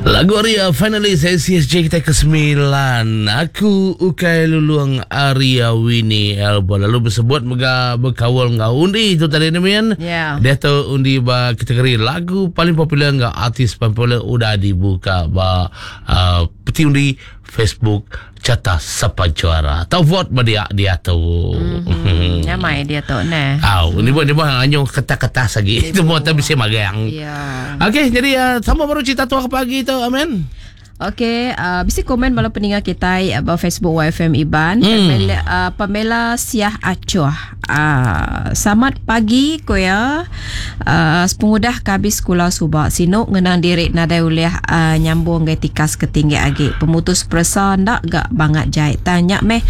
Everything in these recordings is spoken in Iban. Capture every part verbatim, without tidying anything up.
Lagu ari uh, finally S C S J kita ke sembilan. Aku Ukai Lulung Arya Winnie Elba. Lalu bersebut mega berkawal ngau undi itu tadi ni men. Ya. Dia tu undi ba kategori lagu paling popular ngau artis paling popular udah dibuka ba uh, peti undi Facebook Carta Sapa Juara. Tau vote ba dia dia tu. Mm-hmm. Nyamai dia tu nah. Aw, ni buat ni buat anyong kertas-kertas lagi. Itu buat tapi bisa magang. Ya. Okey, jadi uh, sama baru cerita tu ke pagi tu, amen. Okey, uh, bisi komen bala peninga kita uh, Facebook Y F M Iban. Hmm. Pamela, uh, Pamela Siah Acuh. Uh, selamat pagi ko ya. Uh, sepengudah habis sekolah subak sinu ngenang diri nadai ulih uh, nyambung ke tikas ketinggi agi. Pemutus peresa ndak gak bangat jai. Tanya meh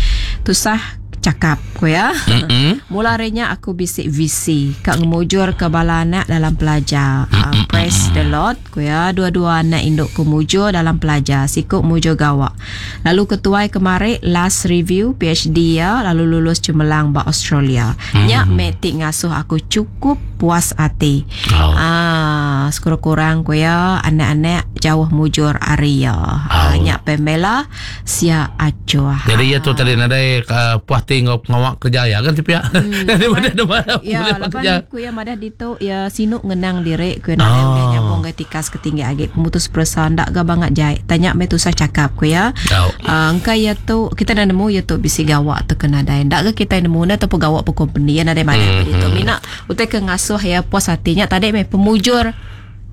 tusah cakap ko ya. Mm-mm. Mula harinya aku bisik visi kak ngemujur ke bala anak dalam pelajar. Uh, praise the Lord ku ya, dua-dua anak induk ku mujur dalam pelajar. Sikuk mujur gawak. Lalu ketuai kemari last review P H D ya, lalu lulus cemerlang ba Australia. Mm. Nya metik ngasuh aku cukup puas hati. Oh. Ah, sekurang-kurang ku ya anak-anak jauh mujur ari ya. Ah, Oh. nya Pamela sia acuh. Jadi ya tu tadi nadai uh, puas tengok pengawak kerja ya kan tapi ya. Daripada mana Ya, boleh lepas kerja. ku ya madah dito ya sinuk ngenang diri ku nak Ah. oh. nyambung ke tikas ketinggi agi pemutus peresa ndak ga bangat jai. Tanya me tusah cakap ku ya. Tau. Uh, engkai ya tu kita dah nemu ya tu bisi gawak tu kena dai. Ndak ke kita nemu na ataupun gawak pe company ya nadai mana mm -hmm. tu. Mina utai ke ngasuh ya puas hatinya tadi me pemujur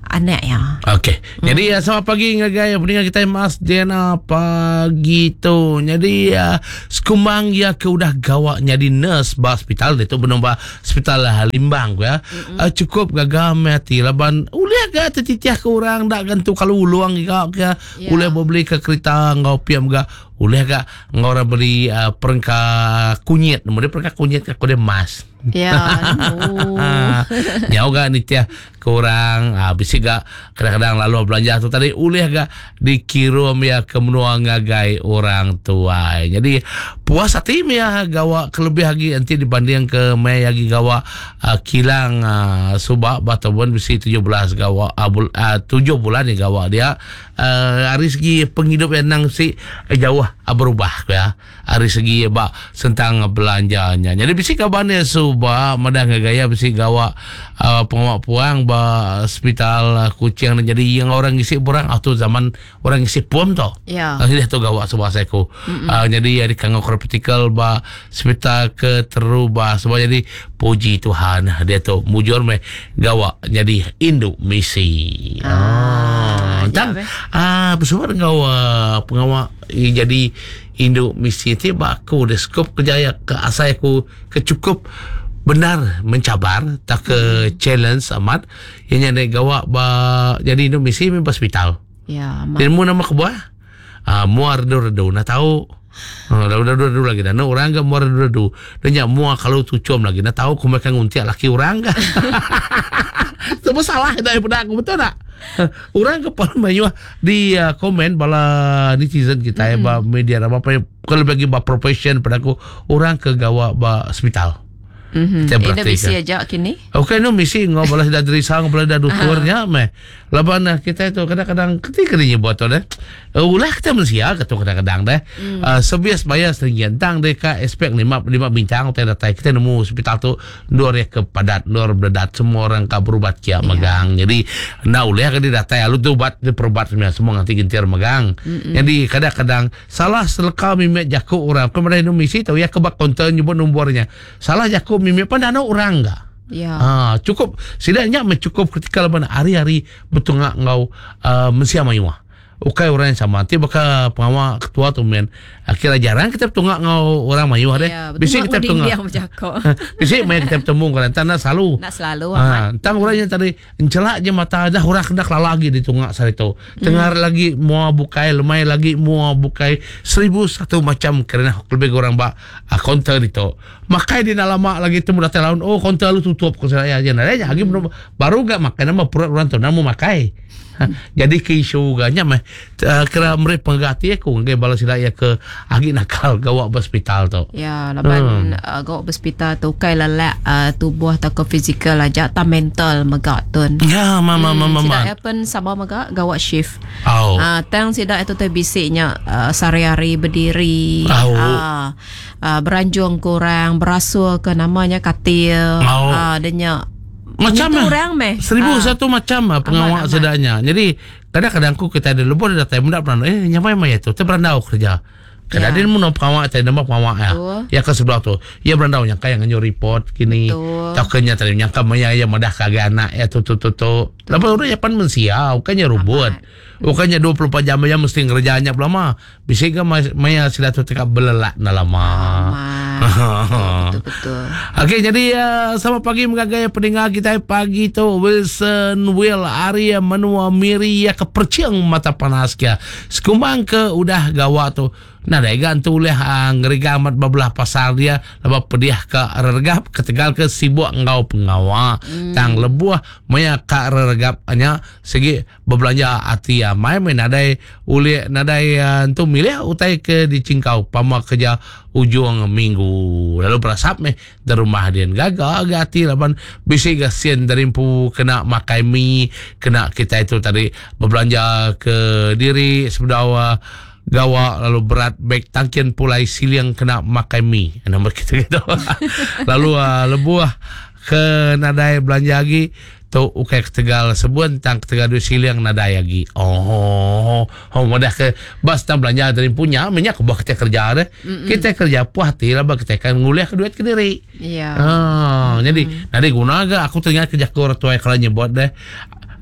anak ya. Okey. Jadi ya, selamat pagi ngagai pendengar kita Mas Diana pagi tu. Jadi ya, sekumbang ya ke udah gawak jadi nurse ba hospital dia tu belum ba hospital lah Limbang ya. Mm-hmm. Uh, cukup gagah mati laban ulih ga tertitiah ke orang dak gantu kalau uluang ga ke Ya. ulih beli ke kereta ngau piam ga ulih ga ngau orang beli uh, perengka kunyit. Nama dia perengka kunyit ke aku dia mas. Ya, nemu. Nyau ga ni tia kurang ah, bisi ga kadang-kadang lalu belanja tu tadi ulih ga dikirim ya ke menua ngagai orang tua. Jadi puas hati ya gawa kelebih lagi nanti dibanding ke mai lagi gawa uh, kilang uh, subak ataupun bisi tujuh belas gawa uh, bul, uh, tujuh bulan ni gawa dia uh, hari segi penghidup yang nang si eh, jauh uh, berubah ya hari segi bak sentang belanjanya. Jadi bisi kabarnya subak madah gaya bisi gawa uh, pengawak puang ba hospital uh, Kuching jadi yang orang isi borang atau zaman orang isi puam to. Ya. Uh, dia tu gawak sebuah seko. Uh, jadi ada kanggo critical ba hospital ke terubah sebab jadi puji Tuhan dia tu mujur me gawak jadi induk misi. Ah, Ya, tang be. ah bersama dengan uh, pengawak eh, jadi induk misi ti ba aku dia skop kerjaya ke asai aku kecukup benar mencabar tak ke challenge amat yang yang gawak ba jadi induk misi memang hospital. Ya, mak. Dan mu nama kebuah? Ah, muar redu-redu nak tahu. Ah, dah redu-redu lagi dah. Nak orang ke muar redu-redu. Dan nyak muar kalau tucum lagi nak tahu ku makan nguntiak laki orang ke. Semua salah daripada aku, betul tak? Orang ke paling banyak di uh, komen bala netizen kita mm. ya ba media apa apa kalau bagi ba profession pada aku orang ke gawa ba hospital. Mhm. Kita Ini berarti bisi kan. aja kini. Okey no misi ngau balas dah dari sang balas dah doktornya meh. Laban ah, kita itu kadang-kadang ketika dia buat tu deh. Uh, ulah kita manusia kata kadang-kadang deh. Mm. Uh, sebias bayar seringgian tang deka expect lima lima bintang utai datai kita nemu hospital tu dua ya ke padat dua berdat semua orang ka berubat kia yeah. Magang. Jadi na ulah ke dia datai lalu tu ubat dia perubat semua semua nanti gentir magang. Mm-mm. Jadi kadang-kadang salah seleka mimek jaku orang. Kemudian misi tahu ya kebak konten nyebut nombornya. Salah jaku mimek pandano orang enggak. Ya. Ha, cukup setidaknya mencukup ketika laban hari-hari betungak ngau uh, mensia mayuah. Ukai orang yang sama. Nanti bakal pengawal ketua tu men. Akhirnya jarang kita betungak ngau orang mayuah deh. Ya, Bisi kita betul betungak. dia bercakap. Bisi mai kita bertemu kan tanah selalu. Nak selalu Ha, amat. tang orang yang tadi encelak je mata dah orang kena kelala lagi di tungak sarito. Tengah hmm. lagi mua bukai, lemai lagi mua bukai seribu satu macam kerana lebih orang bak uh, counter itu. Makai di lama lagi temu datang laun oh counter lu tutup ko saya aja. Nah, lagi belum baru gak makan nama perut orang tu nama makai. Jadi ke isu ganya meh uh, kira meri pengganti aku ngagai bala sida ya ke agi nakal gawa ba hospital tu. Ya, laban hmm. uh, gawa ba hospital tu kai lelak uh, tubuh atau ke fizikal aja ta mental mega tun. Ya, mama hmm, mama mama. Sida pen sama mega gawa shift. Oh. Uh, tang sida itu tu bisiknya uh, sehari-hari berdiri. Oh. Uh, uh, beranjung kurang, berasul ke namanya katil. Oh. Uh, denya macam itu orang meh. Seribu ha. satu macam lah pengawak sedanya. Jadi kadang-kadang aku kita ada lebih ada time muda pernah eh nyamai maya tu terberandau kerja. Kadang dia mun pengawak tadi nama pengawak ya. Ya ke sebelah tu. Ya berandau yang kaya nganyo report kini. Tak kena tadi nyangka maya ya madah kagak anak ya tu tu tu tu. Lepas orang ya pan mensia, bukannya robot. Bukannya dua puluh empat jam aja mesti ngerjanya lama. Bisa ke maya sila tu tekak belelak na lama. Betul betul. Okey, jadi uh, selamat pagi mengagai pendengar kita pagi tu Wilson Will Arya Menua Miri ya ke perciang mata panas kia. Sekumbang ke udah gawa tu. Nah, dai gantu oleh uh, ngeriga amat bebelah pasal dia lepas pediah ke regap ketegal ke sibuk ngau pengawak. Hmm. Tang lebuh maya ka regap nya segi berbelanja ati ya mai mai nadai ulih nadai uh, tu milih utai ke dicingkau pama kerja ujung minggu. Lalu berasap meh dari rumah dia gagah agak hati laban bisi gasien dari empu kena makai mi kena kita itu tadi berbelanja ke diri sebedawa gawa lalu berat beg tangkian pulai siliang kena makai mi nama kita gitu. Lalu uh, lebuah ke nadai belanja lagi tu ukai ketegal sebuan tang ketegal duit siliang nadai lagi. Oh, oh mudah ke bas tang belanja dari punya minyak buah kita kerja deh. Mm-mm. Kita kerja puas hati lah kita kan ngulih ke duit ke diri. Iya. Ah, jadi nadai guna ga aku teringat kerja ke orang tua kalau nyebut deh.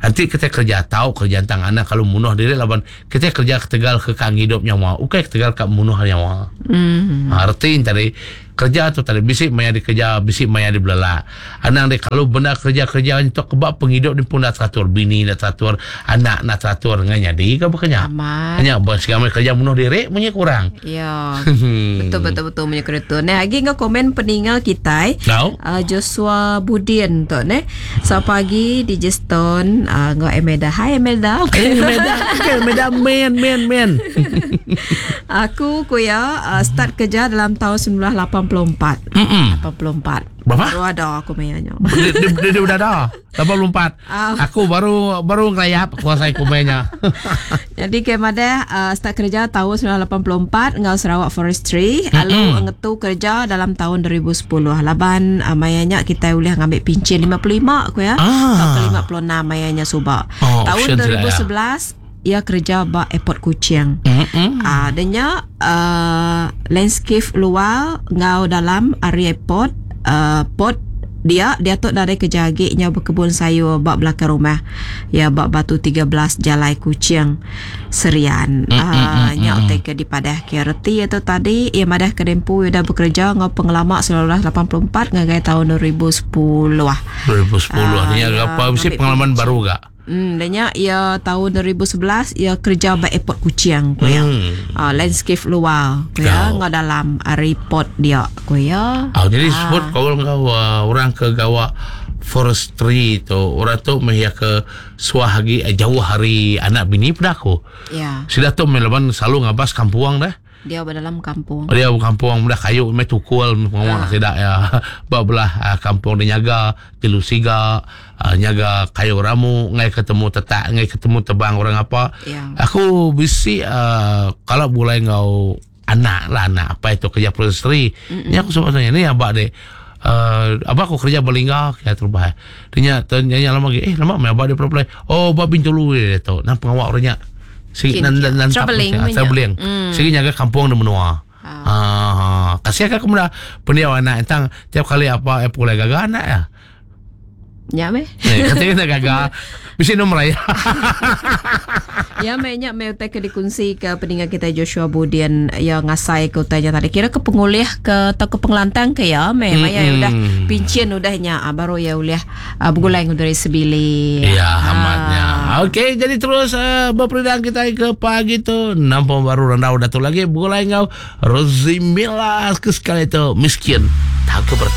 Nanti kita kerja tahu kerja tang anak kalau munuh diri laban kita kerja ketegal ke kang hidup nyawa ukai ketegal kak munuh nyawa. Mm. Ha, arti tadi kerja tu tadi bisik maya dikerja bisik maya dibelala. Anang dia kalau benda kerja-kerja untuk kebab penghidup ni pun dah teratur, bini dah teratur, anak nak teratur dengan jadi ke bukannya. Hanya buat segala kerja munuh diri punya kurang. Ya. Betul betul betul punya kereta. Nah, lagi ngau komen peninggal kita. No. Uh, Joshua Budin tu ne. So pagi di Justin uh, ngau Emelda. Hai Emelda. Eh Emelda, okay, Emelda man man man. Aku kuya uh, start kerja dalam tahun sembilan lapan puluh empat. Mm-mm. lapan puluh empat. Berapa? Baru ada aku mainnya. Dia, dia, dia, dia udah ada. lapan puluh empat. Uh. Aku baru baru ngelayap kuasai kumenya. Jadi kemada uh, start kerja tahun sembilan lapan puluh empat ngau Sarawak Forestry, lalu ngetu kerja dalam tahun dua ribu sepuluh. Laban uh, mayanya kita boleh ngambil pincin lima puluh lima aku ya. Ah. Atau lima puluh enam mayanya subak. Oh, tahun dua ribu sebelas ia kerja ba airport Kuching. Mm-hmm. Ah, uh, denya uh, landscape luar ngau dalam area airport uh, port dia dia tu dari kerja agiknya berkebun sayur bak belakang rumah. Ya bak Batu tiga belas Jalai Kuching Serian. Mm, Ah mm, nya mm, utai ke di padah ke reti itu tadi ia madah ke dempu ia dah bekerja ngau pengelama sembilan lapan puluh empat ngagai tahun dua ribu sepuluh. dua ribu sepuluh Ah, ni ya, apa mesti ambil pengalaman pincin. baru gak? Hmm, danya ia tahun dua ribu sebelas ia kerja ba airport Kuching ko ya. Hmm. Ah, landscape luar ko ya, Kau. ngau dalam report dia ko ya. Ah, jadi sebut kau kau uh, orang ke gawa forestry tu, orang tu meh ke suah lagi eh, jauh hari anak bini pada aku. Ya, Sudah tu melaban selalu ngabas kampuang dah. dia berdalam kampung. Dia kampung dah kayu meh tukul pengawak tidak ya. Belah uh, kampung dia nyaga jelu siga, uh, nyaga kayu ramu, ngai ketemu tetak, ngai ketemu tebang orang apa. Ya. Aku bisi uh, kalau boleh ngau anak lah anak apa itu kerja forestry. Ni aku sebab tanya ni abak dek. Uh, abak aku kerja berlingga ya terubah. Dia tanya lama lagi, eh lama mai abak dia apply. Oh, abak Bintulu dia tu. Nang pengawak orangnya. Sigi Kin- nan nan nan travelling ah, punya. travelling. Mm. Sigi nyaga kampung di menua. Ah. Ah, kasih aku muda pendiau anak entang tiap kali apa eh pulai gagah anak ya. Ya meh. Eh, katanya nak gagah. Mesti nombor raya. Ya meh nya meh utai ke dikunci ke peninggal kita Joshua Budian yang ngasai ke utainya tadi. Kira ke pengulih ke atau ke pengelantang ke ya meh. Maya Mm-mm. udah pincin udahnya ah, baru ya ulih ah, bergulai dari sebili. Ya, Ah. amatnya. Okey, jadi terus uh, berperindang kita ke pagi tu. Nampak baru randau datu lagi. Bergulai ngau Rozimila ke sekali tu miskin. Tak ke bertah.